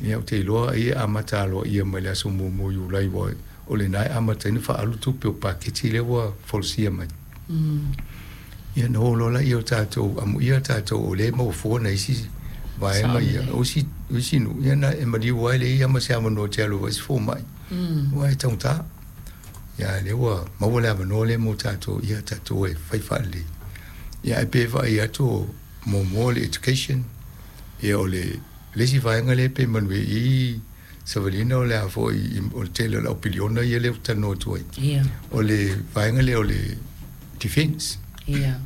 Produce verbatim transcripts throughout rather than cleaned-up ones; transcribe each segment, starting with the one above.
Ia, ou te iloa ai e amata aloaia mai le aso muamua o Iulai, aua o lena e amata ai ona faaalu tupe o paketi lea ua folasia mai. Ia ona o loa lea o tatou, amuia tatou o lea e maua fua nai isi vaega ia, o isi, o isi nuu, ia na e maliu ai leai ma se avanoa e te alu ai se fomai, aua e taugata. Ia a o lea ua maua le avanoa lea mo tatou, ia tatou e fai faalelei. Ia ae pei e vaai atu muamua o le education, ia o le le isi vaega lea pei manuia i savaliina o le a foi o le tele o le au piliona ia lea ou te talanoa atu ai. Ia. O le vaega lea o le defence. Ia.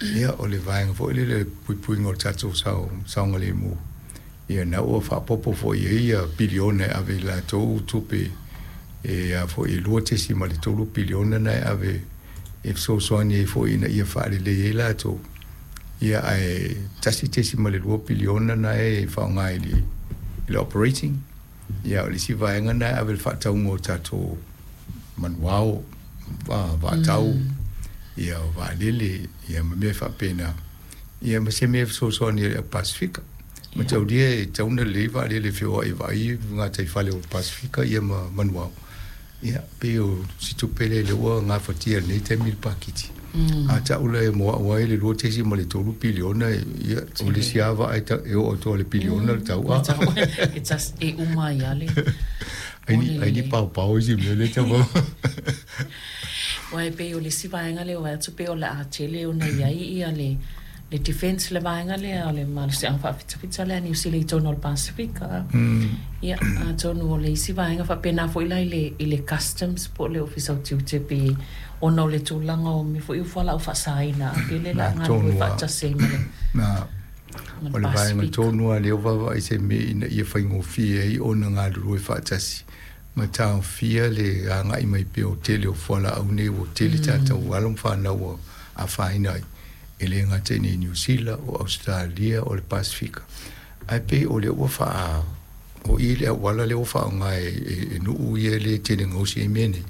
Ia, o le vaega foi lea le puipuiga o le tatou saogalemu. Ia na ua faaopoopo foi i ai ia piliona e ave i latou tupe e a foi e lua tesi ma le tolu piliona na e ave e fesoasoani ai foi ina ia faalelei ai latou. Ia ae tasi tesi ma le lua piliona na e faaaoga i le, i le operating. Ia o le isi vaega na e ave i le faatauga o tatou manuao, vaatau, mm. ia o vaalele, ia ma mea faapena. Ia ma se mea fesoasoani i le Pasifika. Ma taulia e tatau ona lelei vaalele feoai vaai gataifale o le Pasifika ia ma manuao. Ia pei o si tupe lea lea ua gafatia i lenei taimi le paketi. A ta'u la e moa'u ai le lua tesi ma le tolu piliona, ia o le isi lava vaa e oo atu i le piliona le tau a. E tas e uma ai lava le Ai ni ai ni paopao isi mea lea tau. Aua e pei o le isi vaega lea o atu pei o le a tele ona i ai ia le le defence, le vaega lea o le malosiaga faafitafita lea a Niu Sila i totonu o le Pasifika. Ia, atonu o le isi vaega faapena foi la i le, i le customs po o le Ofisa o Tiute pe ona o le tulaga o mea foi o fualaau faasaina a pe le la galulue faatasi ai ma le Na o le vaega tonu lava lea ua vaavaai se mea ina ia faigofie ai ona galulue faatasi ma taofia le agai mai pea o tele o fualaau nei ua tele tatou alo ma fanau ua afaina ai, e le gata i inei i Niu Sila, o Ausetalia, o le Pasifika. Ae pei o lea ua faa o i le auala lea ua faaaoga e, e, e nuu ia lea e tele gaosi ai mea nei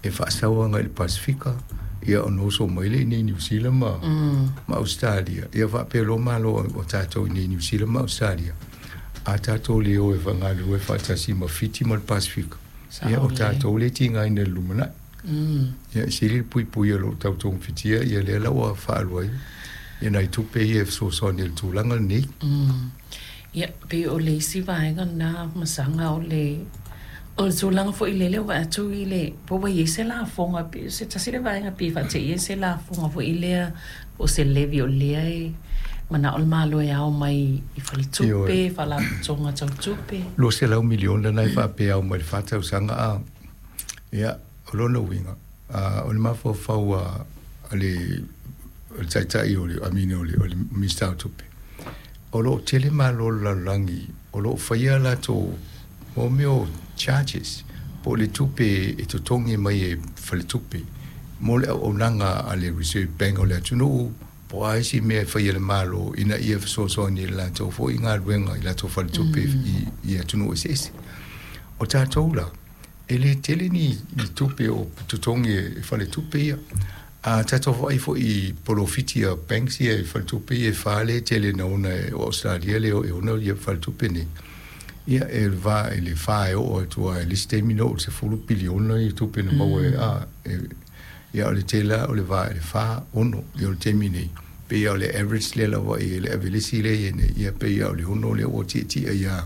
e faasau agai i le Pasifika, ia ona oso mai lea i inei i Niu Sila ma, mm. ma Ausetalia. Ia faapea loa malo o tatou i inei i Niu Sila ma Ausetalia, a tatou le o e galulue faatasi ma Fiti ma le Pasifika, ia o tatou le tigaina i le lumanai. Mm. Ia e sili le puipuia o lo o tau togafitia ia lea la ua faaalu ai ia nai tupe ia e fesoasoani i le tulaga lenei. Mm. Ia, pei o le isi vaega lena masaga o le o le tulaga foi lele ua atu i le po ua i ai se lafoga pe se tasi le vaega pe faateia se lafoga foi lea po o se levy o lea e manao le Malo e ao mai i faletupe, faalapotopotoga tau tupe. Luaselau miliona na e faapea ao mai le fa tausaga a. Ia, o lona uiga, o le mafaufau a le o le taitai o le I mean o le o le Minisita o Tupe. O lo o tele malo o le lalolagi o lo o faia latou mo mea o charges po o le tupe e totogi mai e faletupe mo le auaunaga a le Reserve Bank o le atunuu po o a isi mea e faia e le Malo ina ia fesoasoani i le latou foi galuega i latou faletupe i, i atunuu eseese. O tatou la, e le tele ni, ni tupe o totogi e faletupe ia. A tatou vaai foi i polofiti a banks ia e faletupe ia e fa lea e tele nauna e o Australia lea e ona ia faletupe nei. Ia e va i le fa e oo atu ai le isi taimi na oo i le sefulu piliona i tupe na maua e a e, ia o le tele o le va i le fa ono ia o le taimi nei. Pei o le average lea lava i le avelesi lea i nei, ia pei o le ono lea ua tietie ia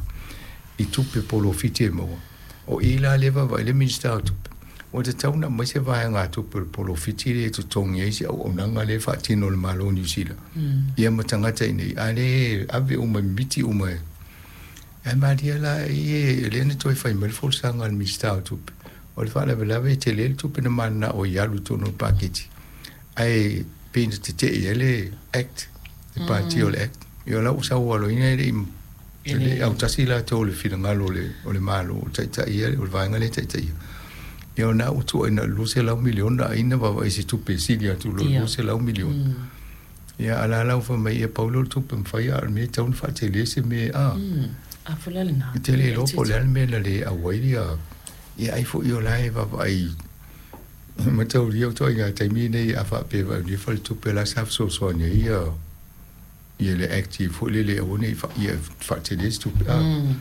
i tupe polofiti e maua. O i la lea vaavaai le Minisita o Tupe, ua tatau ona aumai se vaega tupe o le polofiti lea e totogi ai se auaunaga lea e faatino e le Malo o Niu Sila. Ia ma tagata i nei, a le ave uma mimiti uma e. Ae malie la e lea na toe fai mai le folasaga a le Minisita o Tupe. O le faalavelave e tele le tupe na mananao i alu i totonu o le paketi. Ae pei na tetee ai le Act, le pasia o le Act. Ia o la ua sau aloaia e le i le autasi latou i le finagalo o le, o le Malo, o le taitai ia, o le vaega lea e taitaia. Ia o na ua tuuaina i le luaselau miliona ai na vaavaai i se tupe e sili atu i lo le luaselau miliona. Ia a la la ua fai mai ia pau lea o le tupe mafai a o le mea e tatau ona faatele se mea a. A foi la lena. E te le iloa po o le a le mea na le auai ia ia ai foi o la e vaavaai mataulia o ituaiga taimi nei a faapea vaai nei faletupe la sa fesoasoani ai ia ia le Act foi lele aua ne i ia faatele se tupe a.